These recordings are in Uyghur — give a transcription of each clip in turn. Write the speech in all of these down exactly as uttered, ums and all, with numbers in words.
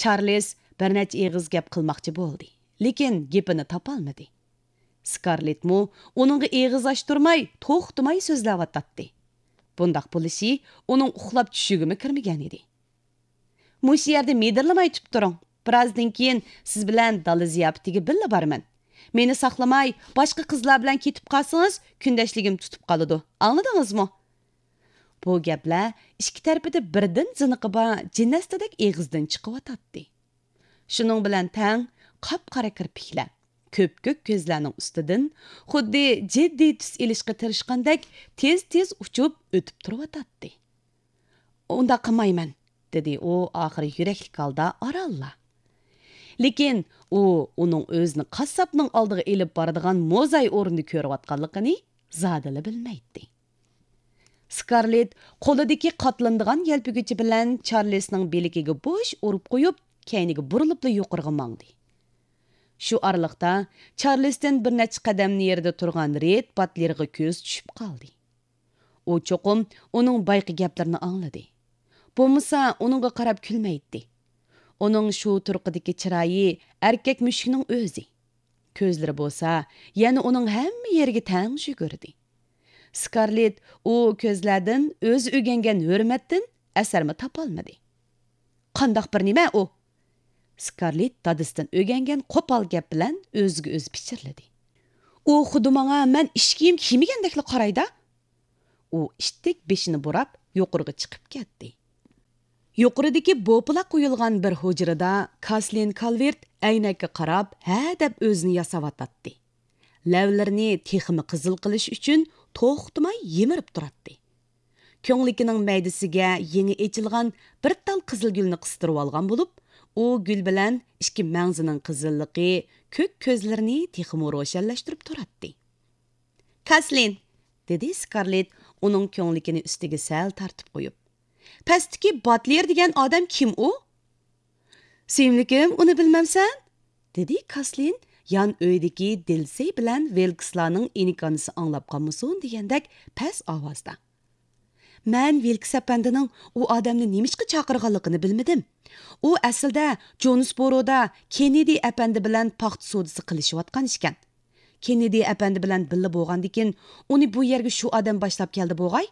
چارلىز بىر نەچچە ئېغىز گەپ قىلماقچى بولدى، لېكىن گېپىنى تاپالمىدى. سكارلېتمۇ ئۇنىڭغا ئېغىز ئاچتۇرماي، توختىماي سۆزلەۋاتاتتى. بۇنداق بولۇشى ئۇنىڭ ئۇخلاپ چۈشىگىمۇ كىرمىگەن ئىدى. مۇشۇ يەردە مىدىرلىماي تۇرۇپ تۇرۇڭ. بىرازدىن كېيىن سىز بىلەن دالا زىياپىتىگە بىللە بارىمەن. مېنى ساقلىماي، باشقا قىزلار بىلەن كېتىپ قالسىڭىز، كۈندەشلىكىم تۇتۇپ قالىدۇ. ئاڭلىدىڭىزمۇ؟ بۇ گەپلەر ئىككى تەرىپىدە بىردىن زىنىقى بار جىنەستىدەك ئېغىزدىن چىقىۋاتاتتى. شۇنىڭ بىلەن تەڭ قاپقارا كىرپىكلەر، كۆپكۆك كۆزلەرنىڭ ئۈستىدىن خۇددى جىددىي تۈس ئېلىشقا تىرىشقاندەك تېز-تېز ئۇچۇپ ئۆتۈپ تۇرۇۋاتاتتى. ئۇنداق قىلمايمەن، دېدى ئۇ ئاخىرى يۈرەكلىك ھالدا ئارانلا. لېكىن ئۇ ئۇنىڭ ئۆزىنى قاسساپنىڭ ئالدىغا ئېلىپ بارىدىغان موزاي ئورنىدا كۆرۈۋاتقانلىقىنى زادىلا بىلمەيتتى. سكارلېت قولىدىكى قاتلىنىدىغان يەلپۈگۈچى بىلەن چارلىسنىڭ بىلىكىگە بوش ئۇرۇپ قويۇپ، كەينىگە بۇرۇلۇپلا يۇقىرىغا ماڭدى. شۇ ئارىلىقتا چارلىستىن بىر نەچچە قەدەم نېرىدا تۇرغان رېد باتلېرغا كۆزى چۈشۈپ قالدى. ئۇ چوقۇم ئۇنىڭ بايىقى گەپلىرىنى ئاڭلىدى. بولمىسا ئۇنىڭغا قاراپ كۈلمەيتتى. ئۇنىڭ شۇ تۇرقىدىكى چىرايى ئەركەك مۈشۈكنىڭ ئۆزى. كۆزلىرى بولسا يەنە ئۇنىڭ ھەممە يېرىگە تەڭ يۈگۈردى. سكارلېت ئۇ كۆزلەردىن ئۆزى ئۆگەنگەن ھۆرمەتتىن ئەسەرمۇ تاپالمىدى. قانداق بىر نېمە ئۇ؟ سكارلېت دادىسىدىن ئۆگەنگەن قوپال گەپ بىلەن ئۆزىگە ئۆزى پىچىرلىدى. ئۇ خۇددى ماڭا مەن ئىچ كىيىم كىيمىگەندەكلا قارايدا. ئۇ ئىتتىك بېشىنى بۇراپ يۇقىرىغا چىقىپ كەتتى. يۇقىرىدىكى بوپىلاق قويۇلغان بىر ھۇجرىدا كاسلىن كالۋېرت ئەينەككە قاراپ ھە دەپ ئۆزىنى ياساۋاتاتتى. لەۋلىرىنى تېخىمۇ قىزىل قىلىش ئۈچۈن توختىماي يىمىرىپ تۇراتتى. كۆڭلىكىنىڭ مەيدىسىگە يېڭى ئېچىلغان بىر تال قىزىل گۈلنى قىستۇرۇۋالغان بولۇپ، ئۇ گۈل بىلەن ئىككى مەڭزىنىڭ قىزىللىقى كۆك كۆزلىرىنى تېخىمۇ روشەنلەشتۈرۈپ تۇراتتى. كاسلىن، دېدى سكارلېت ئۇنىڭ كۆڭلىكىنى ئۈستىگە سەل تارتىپ قويۇپ. پەستىكى باتلېر دېگەن ئادەم كىم ئۇ؟ سۆيۈملۈكۈم، ئۇنى بىلمەمسەن؟ دېدى كاسلىن يان ئۆيدىكى دىلسەي بىلەن ۋىلكسلارنىڭ ئىنىكانىسى ئاڭلاپ قالمىسۇن دېگەندەك پەس ئاۋازدا. مەن ۋىلكس ئەپەندىنىڭ ئۇ ئادەمنى نېمىشقا چاقىرغانلىقىنى بىلمىدىم. ئۇ ئەسلىدە جونسبورودا كېننېدى ئەپەندى بىلەن پاختا سودىسى قىلىشىۋاتقان ئىكەن. كېننېدى ئەپەندى بىلەن بىللە بولغاندىكىن، ئۇنى بۇ يەرگە شۇ ئادەم باشلاپ كەلدى بوغاي.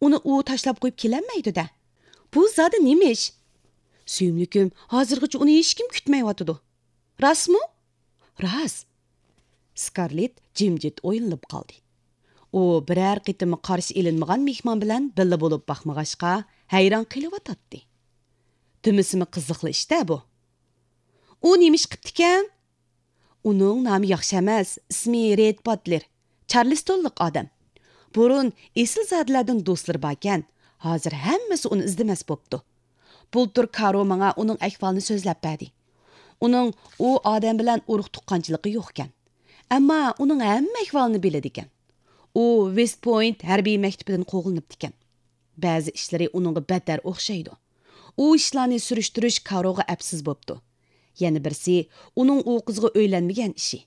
ئۇنى ئۇ تاشلاپ قويۇپ كېلەلمەيدۇ-دە. بۇ زادى نېمە ئىش؟ سۆيۈملۈكۈم، ھازىرغىچە ئۇنى ھېچكىم كۈتمەيۋاتىدۇ. راستمۇ؟ راست. سكارلېت جىمجىت ئويلىنىپ قالدى. ئۇ بىرەر قېتىممۇ قارشى ئېلىنمىغان مېھمان بىلەن بىللە بولۇپ باقمىغاچقا، ھەيران قېلىۋاتاتتى. دېمىسىمۇ قىزىقلا ئىش-دە بۇ. ئۇ نېمە ئىش قىپتىكەن؟ ئۇنىڭ نامى ياخشى ئەمەس، ئىسمى رېد باتلېر. چارلىستونلۇق ئادەم. بۇرۇن ئېسىلزادىلەردىن دوستلىرى باركەن، ھازىر ھەممىسى ئۇنى ئىزدىمەس بوپتۇ. بۇلتۇر كارو ماڭا ئۇنىڭ ئەھۋالىنى سۆزلەپ بەردى. ئۇنىڭ ئۇ ئادەم بىلەن ئۇرۇق تۇغقانچىلىقى يوقكەن. ئەمما ئۇنىڭ ھەممە ئەھۋالىنى بىلىدىكەن. ئۇ ۋېست پوينت ھەربىي مەكتىپىدىن قوغلىنىپتىكەن. بەزى ئىشلىرى ئۇنىڭغا بەتتەر ئوخشايدۇ. ئۇ ئىشلارنى سۈرۈشتۈرۈش كاروغا ئەپسىز بوپتۇ. يەنە بىرسى ئۇنىڭ ئۇ قىزغا ئۆيلەنمىگەن ئىشى.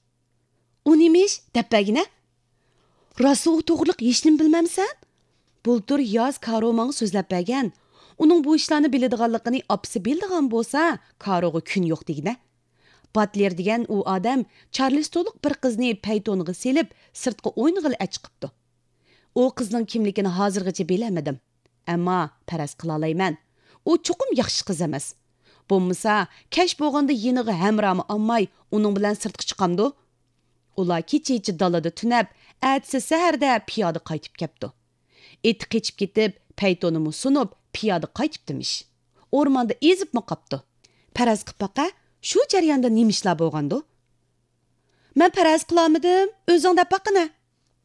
ئۇ نېمە ئىش؟ دەپ بەرگىنە. راسا ئۇ توغرىلىق ھېچنېمە بىلمەمسەن؟ بۇلتۇر ياز كارو ماڭا سۆزلەپ بەرگەن. ئۇنىڭ بۇ ئىشلارنى بىلىدىغانلىقىنى ئاپىسى بىلىدىغان بولسا، كاروغا كۈن يوق دېگىنە. باتلېر دېگەن ئۇ ئادەم چارلىستونلۇق بىر قىزنى پەيتونىغا سېلىپ، سىرتقا ئوينىغىلى ئەچىقىپتۇ. ئۇ قىزنىڭ كىملىكىنى ھازىرغىچە بىلەلمىدىم. ئەمما پەرەز قىلالايمەن. ئۇ چوقۇم ياخشى قىز ئەمەس. بولمىسا، كەچ بولغاندا يېنىغا ھەمراھمۇ ئالماي، ئۇنىڭ بىلەن سىرتقا چىقامدۇ؟ ئۇلار كېچىچە دالىدا تۈنەپ، ئەتىسى سەھەردە پىيادە قايتىپ كەپتۇ. ئېتى قېچىپ كېتىپ، پەيتونىمۇ سۇنۇپ، پىيادە قايتىپتىمىش. ئورماندا ئېزىپمۇ قاپتۇ. پەرەز قىپ باقە، شۇ جەرياندا نېمە ئىشلار بولغاندۇ؟ مەن پەرەز قىلالمىدىم، ئۆزۈڭ دەپ باققىنە،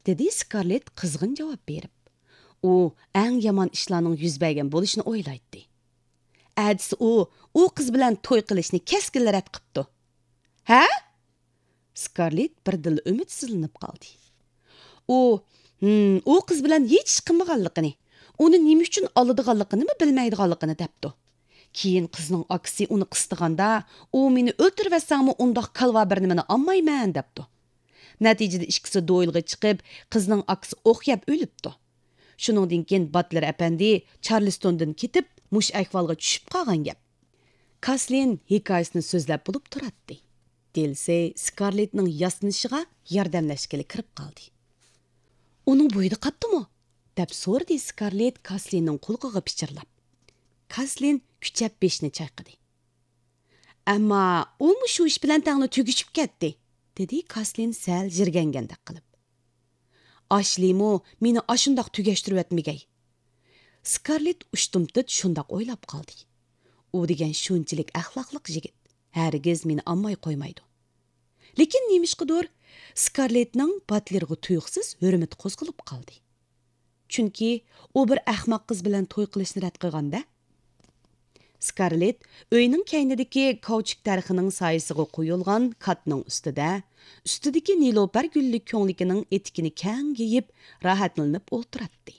دېدى سكارلېت قىزغىن جاۋاب بېرىپ. ئۇ ئەڭ يامان ئىشلارنىڭ يۈز بەرگەن بولۇشىنى ئويلايتتى. ئەتىسى ئۇ، ئۇ قىز بىلەن توي قىلىشنى كەسكىنلا رەت قىپتۇ. ھە؟ سكارلېت بىردىنلا ئۈمىدسىزلىنىپ قالدى. ئۇ، ھىم، ئۇ قىز بىلەن ھېچ ئىش قىلمىغانلىقىنى، ئۇنى نېمە ئۈچۈن ئالىدىغانلىقىنىمۇ بىلمەيدىغانلىقىنى دەپتۇ. كېيىن قىزنىڭ ئاكىسى ئۇنى قىستىغاندا، ئۇ مېنى ئۆلتۈرۈۋەتسەڭمۇ ئۇنداق كالۋا بىر نېمىنى ئالمايمەن دەپتۇ. نەتىجىدە ئىككىسى دوئېلغا چىقىپ، قىزنىڭ ئاكىسى ئوق يەپ ئۆلۈپتۇ. شۇنىڭدىن كېيىن باتلېر ئەپەندى چارلىستوندىن كېتىپ، مۇشۇ ئەھۋالغا چۈشۈپ قالغان گەپ. كاسلىن ھېكايىسىنى سۆزلەپ بولۇپ تۇراتتى. دىلسېي سكارلېتنىڭ ياسىنىشىغا ياردەملەشكىلى كىرىپ قالدى. ئۇنىڭ بويىدا قاپتىمۇ؟ دەپ سورىدى سكارلېت كاسلىننىڭ قۇلىقىغا پىچىرلاپ. كاسلىن كۈچەپ بېشىنى چايقىدى. ئەمما ئۇمۇ شۇ ئىش بىلەن تەڭلا تۈگىشىپ كەتتى، دېدى كاسلىن سەل يىرگەنگەندەك قىلىپ. ئاشلىمۇ مېنى ئاشۇنداق تۈگەشتۈرۈۋەتمىگەي. سكارلېت ئۇشتۇمتۇت شۇنداق ئويلاپ قالدى. ئۇ دېگەن شۇنچىلىك ئەخلاقلىق يىگىت، ھەرگىز مېنى ئالماي قويمايدۇ. لېكىن نېمىشقىدۇر، سكارلېتنىڭ باتلېرغا تۇيۇقسىز ھۆرمىتى قوزغىلىپ قالدى. چۈنكى ئۇ بىر ئەخمەق قىز بىلەن توي قىلىشنى رەت قىلغان-دە. سكارلېت ئۆينىڭ كەينىدىكى كاۋچۇك دەرىخىنىڭ سايىسىغا قويۇلغان كاتنىڭ ئۈستىدە، ئۈستىدىكى نېلۇپەر گۈللۈك كۆڭلىكىنىڭ ئېتىكىنى كەڭ يېيىپ، راھەتلىنىپ ئولتۇراتتى.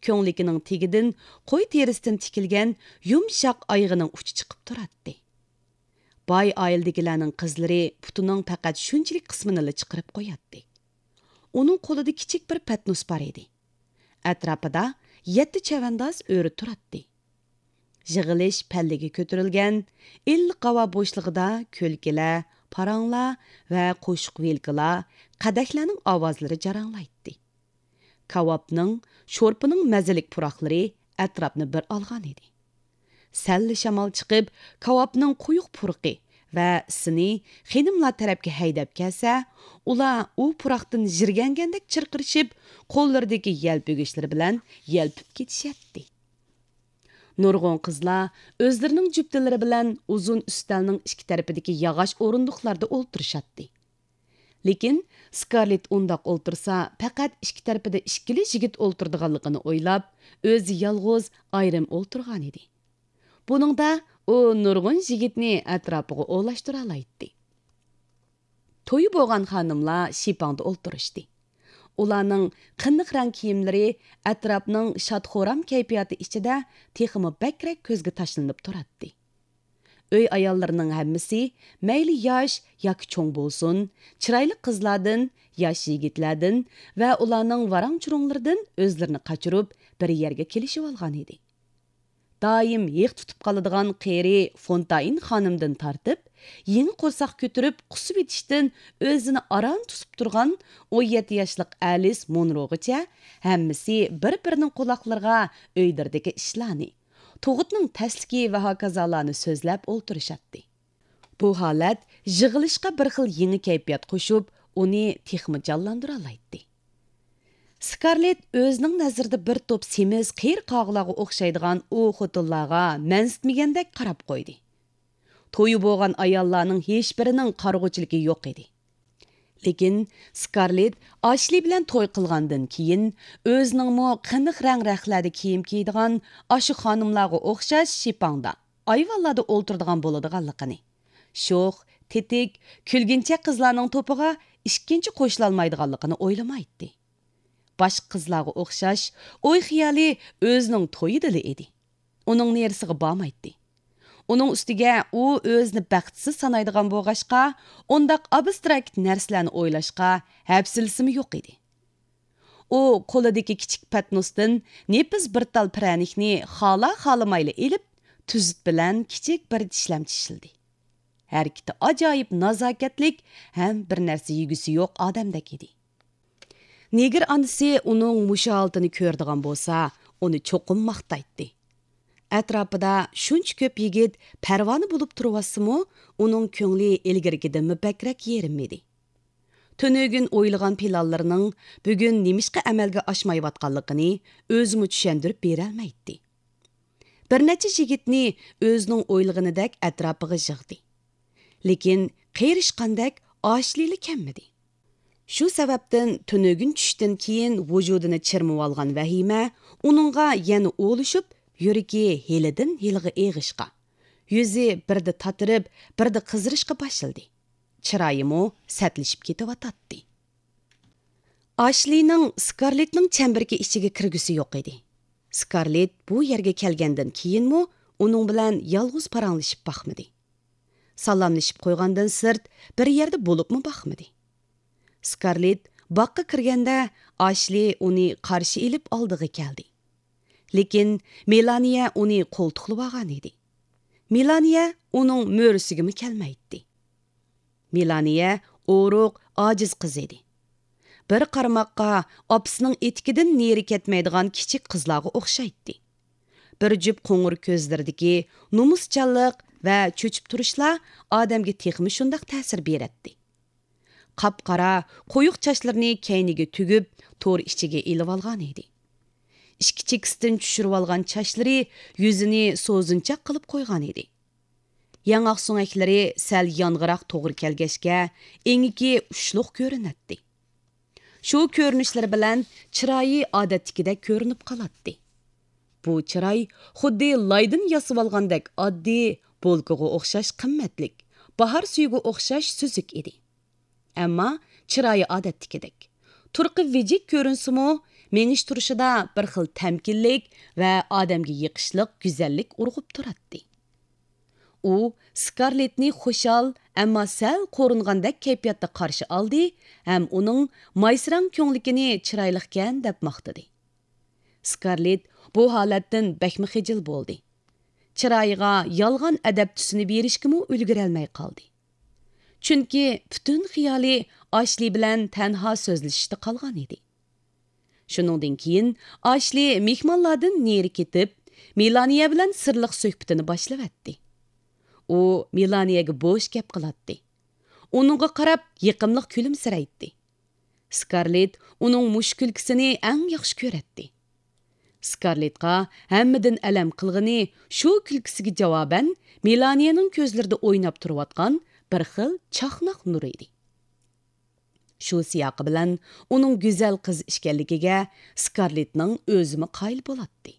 كۆڭلىكىنىڭ تېگىدىن قوي تېرىسىدىن تىكىلگەن يۇمشاق ئايىغىنىڭ ئۇچى چىقىپ تۇراتتى. باي ئائىلىدىكىلەرنىڭ قىزلىرى پۇتىنىڭ پەقەت شۇنچىلىك قىسمىنىلا چىقىرىپ قوياتتى. ئۇنىڭ قولىدا كىچىك بىر پەتنۇس بار ئىدى. ئەتراپىدا يەتتە چەۋەنداز ئۆرە تۇراتتى. يىغىلىش پەللىگە كۆتۈرۈلگەن، ئىللىق ھاۋا بوشلۇقىدا كۈلكىلەر، پاراڭلار ۋە قوشۇق ۋىلكىلار، قەدەھلەرنىڭ ئاۋازلىرى جاراڭلايتتى. كاۋاپنىڭ، شورپىنىڭ مەززىلىك پۇراقلىرى ئەتراپنى بىر ئالغان ئىدى. سەللا شامال چىقىپ، كاۋاپنىڭ قويۇق پۇرىقى ۋە ئىسىنى خېنىملار تەرەپكە ھەيدەپ كەلسە، ئۇلار ئۇ پۇراقتىن يىرگەنگەندەك چىرقىرىشىپ، قوللىرىدىكى يەلپۈگۈچلىرى بىلەن يەلپۈپ كېتىشەتتى. نۇرغۇن قىزلار ئۆزلىرىنىڭ جۈپتىلىرى بىلەن ئۇزۇن ئۈستەلنىڭ ئىككى تەرىپىدىكى ياغاچ ئورۇندۇقلاردا ئولتۇرۇشاتتى. لېكىن سكارلېت ئۇنداق ئولتۇرسا، پەقەت ئىككى تەرىپىدە ئىككىلا يىگىت ئولتۇرىدىغانلىقىنى ئويلاپ، ئۆزى يالغۇز ئايرىم ئولتۇرغانىدى. بۇنىڭدا ئۇ نۇرغۇن يىگىتنى ئەتراپىغا ئولاشتۇرالايتتى. تويى بولغان خانىملار شىپاڭدا ئولتۇرۇشتى. ئۇلارنىڭ قېنىق رەڭ كىيىملىرى ئەتراپنىڭ شاد-خۇرام كەيپىياتى ئىچىدە تېخىمۇ بەكرەك كۆزگە تاشلىنىپ تۇراتتى. ئۆي ئاياللىرىنىڭ ھەممىسى، مەيلى ياش ياكى چوڭ بولسۇن، چىرايلىق قىزلاردىن، ياش يىگىتلەردىن ۋە ئۇلارنىڭ ۋاراڭ-چۇرۇڭلىرىدىن ئۆزلىرىنى قاچۇرۇپ، بىر يەرگە كېلىشىۋالغانىدى. دائىم ھىق تۇتۇپ قالىدىغان قېرى فونتاين خانىمدىن تارتىپ، يېڭى قورساق كۆتۈرۈپ قۇسۇۋېتىشتىن ئۆزىنى ئاران توسۇپ تۇرغان ئون يەتتە ياشلىق ئەلىس مونروغىچە، ھەممىسى بىر-بىرىنىڭ قۇلاقلىرىغا ئۆيلىرىدىكى ئىشلارنى، تۇغۇتنىڭ تەسلىكى ۋە ھاكازالارنى سۆزلەپ ئولتۇرۇشاتتى. بۇ ھالەت يىغىلىشقا بىر خىل يېڭى كەيپىيات قوشۇپ، ئۇنى تېخىمۇ جانلاندۇرالايتتى. سكارلېت ئۆزىنىڭ نەزىرىدە بىر توپ سېمىز قېرى قاغىلارغا ئوخشايدىغان ئۇ خوتۇنلارغا مەنسىتمىگەندەك قاراپ قويدى. تويى بولغان ئاياللارنىڭ ھېچبىرىنىڭ قارىغۇچىلىكى يوق ئىدى. لېكىن سكارلېت ئاشلى بىلەن توي قىلغاندىن كېيىن، ئۆزىنىڭمۇ قېنىق رەڭ-رەخلەردە كىيىم كىيىدىغان ئاشۇ خانىملارغا ئوخشاش شىپاڭدا، ئايۋانلاردا ئولتۇرىدىغان بولىدىغانلىقىنى، شوخ، تېتىك، كۈلگىنچەك قىزلارنىڭ توپىغا ئىككىنچى قوشۇلالمايدىغانلىقىنى ئويلىمايتتى. باشقا قىزلارغا ئوخشاش ئوي-خىيالى ئۆزىنىڭ تويىدىلا ئىدى. ئۇنىڭ نېرىسىغا بارمايتتى. ئۇنىڭ ئۈستىگە ئۇ ئۆزىنى بەختسىز سانايدىغان بولغاچقا، ئۇنداق ئابستراكت نەرسىلەرنى ئويلاشقا ھەپسىلىسىمۇ يوق ئىدى. ئۇ قولىدىكى كىچىك پەتنۇستىن نېپىز بىر تال پىرەنىكنى خالا-خالىمايلا ئېلىپ، تۈزۈت بىلەن كىچىك بىر چىشلەم چىشلىدى. ھەرىكىتى ئاجايىپ نازاكەتلىك ھەم بىر نەرسە يېگۈسى يوق ئادەمدەك ئىدى. نېگىر ئانىسى ئۇنىڭ مۇشۇ ھالىتىنى كۆرىدىغان بولسا، ئۇنى چوقۇم ماختايتتى. ئەتراپىدا شۇنچە كۆپ يىگىت پەرۋانە بولۇپ تۇرۇۋاتسىمۇ، ئۇنىڭ كۆڭلى ئىلگىرىكىدىنمۇ بەكرەك يېرىم ئىدى. تۈنۈگۈن ئويلىغان پىلانلىرىنىڭ بۈگۈن نېمىشقا ئەمەلگە ئاشمايۋاتقانلىقىنى ئۆزىمۇ چۈشەندۈرۈپ بېرەلمەيتتى. بىر نەچچە يىگىتنى ئۆزىنىڭ ئويلىغىنىدەك ئەتراپىغا يىغدى. لېكىن قېرىشقاندەك ئاشلىلا كەلمىدى. شۇ سەۋەبتىن تۈنۈگۈن چۈشتىن كېيىن ۋۇجۇدىنى چىرمىۋالغان ۋەھىمە ئۇنىڭغا يەنە ئولىشىپ، يۈرىكى ھېلىدىن ھېلىغا ئېغىشقا، يۈزى بىردە تاتىرىپ، بىردە قىزىرىشقا باشلىدى. چىرايىمۇ سەتلىشىپ كېتىۋاتاتتى. ئاشلىنىڭ سكارلېتنىڭ چەمبىرىكى ئىچىگە كىرگۈسى يوق ئىدى. سكارلېت بۇ يەرگە كەلگەندىن كېيىنمۇ ئۇنىڭ بىلەن يالغۇز پاراڭلىشىپ باقمىدى. سالاملىشىپ قويغاندىن سىرت بىر يەردە بولۇپمۇ باقمىدى. سكارلېت باغقا كىرگەندە، ئاشلى ئۇنى قارشى ئېلىپ ئالدىغا كەلدى. لېكىن مېلانىيە ئۇنى قولتۇقلىۋالغان ئىدى. مېلانىيە ئۇنىڭ مۈرىسىگىمۇ كەلمەيتتى. مېلانىيە ئورۇق، ئاجىز قىز ئىدى. بىر قارىماققا ئاپىسىنىڭ ئېتىكىدىن نېرى كەتمەيدىغان كىچىك قىزلارغا ئوخشايتتى. بىر جۈپ قوڭۇر كۆزلىرىدىكى نومۇسچانلىق ۋە چۆچۈپ تۇرۇشلار ئادەمگە تېخىمۇ شۇنداق تەسىر بېرەتتى. قاپقارا، قويۇق چاچلىرىنى كەينىگە تۈگۈپ، تور ئىچىگە ئېلىۋالغان ئىدى. ئىچكى چېكىسىدىن چۈشۈرۈۋالغان چاچلىرى يۈزىنى سوزۇنچاق قىلىپ قويغان ئىدى. ياڭاق سۆڭەكلىرى سەل يانغىراق توغرا كەلگەچكە، ئېڭىكى ئۇچلۇق كۆرۈنەتتى. شۇ كۆرۈنۈشلىرى بىلەن چىرايى ئادەتتىكىدەك كۆرۈنۈپ قالاتتى. بۇ چىراي خۇددى لايدىن ياسىۋالغاندەك ئاددىي، بولكىغا ئوخشاش قىممەتلىك، باھار سۈيىگە ئوخشاش سۈزۈك ئىدى. ئەمما چىرايى ئادەتتىكىدەك. تۇرقى ۋىجىك كۆرۈنسىمۇ، مېڭىش تۇرۇشىدا بىر خىل تەمكىنلىك ۋە ئادەمگە يېقىشلىق گۈزەللىك ئۇرغۇپ تۇراتتى. ئۇ سكارلېتنى خۇشال، ئەمما سەل قورۇنغاندەك كەيپىياتتا قارشى ئالدى ھەم ئۇنىڭ مايسىراڭ كۆڭلىكىنى چىرايلىقكەن دەپ ماختىدى. سكارلېت بۇ ھالەتتىن بەكمۇ خىجىل بولدى. چىرايىغا يالغان ئەدەپ تۈسىنى بېرىشكىمۇ ئۈلگۈرەلمەي قالدى. چۈنكى پۈتۈن خىيالى ئاشلى بىلەن تەنھا سۆزلىشىشتە قالغان ئىدى. شۇنىڭدىن كېيىن ئاشلى مېھمانلاردىن نېرى كېتىپ، مېلانىيە بىلەن سىرلىق سۆھبىتىنى باشلىۋەتتى. ئۇ مېلانىيەگە بوش گەپ قىلاتتى. ئۇنىڭغا قاراپ يېقىملىق كۈلۈمسىرەيتتى. سكارلېت ئۇنىڭ مۇشۇ كۈلكىسىنى ئەڭ ياخشى كۆرەتتى. سكارلېتقا ھەممىدىن ئەلەم قىلغىنى شۇ كۈلكىسىگە جاۋابەن مېلانىيەنىڭ كۆزلىرىدە ئويناپ تۇرۇۋاتقان بىر خىل چاقناق نۇر ئىدى. شۇ سىياقى بىلەن ئۇنىڭ گۈزەل قىز ئىكەنلىكىگە سكارلېتنىڭ ئۆزىمۇ قايىل بولاتتى.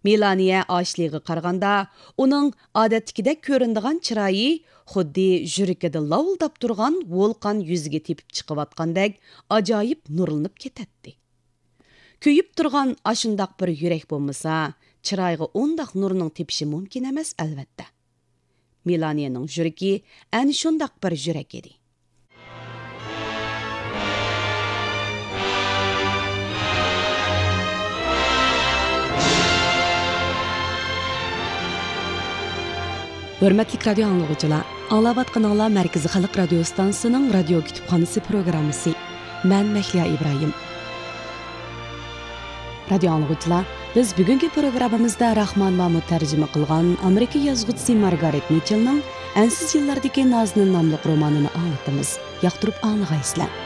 مېلانىيە ئاشلىغا قارىغاندا، ئۇنىڭ ئادەتتىكىدەك كۆرۈنىدىغان چىرايى خۇددى يۈرىكىدە لاۋۇلداپ تۇرغان ۋولقان يۈزىگە تېپىپ چىقىۋاتقاندەك ئاجايىپ نۇرلىنىپ كېتەتتى. كۆيۈپ تۇرغان ئاشۇنداق بىر يۈرەك بولمىسا، چىرايغا ئۇنداق نۇرنىڭ تېپىشى مۇمكىن ئەمەس، ئەلۋەتتە. مېلانىيەنىڭ يۈرىكى ئەنە شۇنداق بىر يۈرەك ئىدى. ھۆرمەتلىك رادىيو ئاڭلىغۇچىلار، ئاڭلاۋاتقىنىڭلار مەركىزىي خەلق رادىيو ستانسىسىنىڭ رادىيو كۇتۇپخانىسى پروگراممىسى. مەن مەھلىيا ئىبراھىم. رادىيو ئاڭلىغۇچىلار، بىز بۈگۈنكى پروگراممىمىزدا راخمانوۋا تەرجىمە قىلغان ئامېرىكا يازغۇچىسى مارگارېت مىچېلنىڭ ئەنسىز يىللاردىكى نازىنىن ناملىق رومانىنى ئاڭلىتىمىز. ياقتۇرۇپ ئاڭلىغايسىلەر.